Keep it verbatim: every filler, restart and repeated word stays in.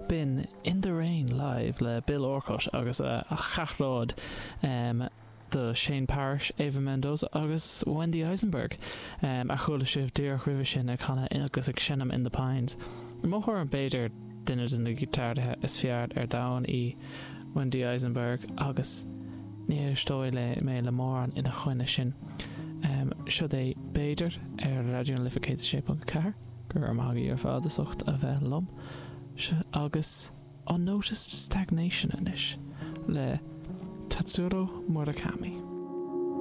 B'in In the Rain live le Bill Orcutt agus a cheathrar um, do Shane Parish, Ava Mendoza agus Wendy Eisenberg um, a chuala sibh díreach roimhe sin ag canadh agus ag seinm In the Pines. Mo thuairim b'fhéidir duine de na giotáraithe is fearr ar domhan í Wendy Eisenberg agus ní éisteoidh le mé le mórán ina choinne sin. Um, Seo é b'fhéidir ar Raidió na Life céad sé ponc ceathair go raibh maith agaibh ar fad as ucht a bheith liom agus Unnoticed Stagnation anois le Tatsuro Murakami.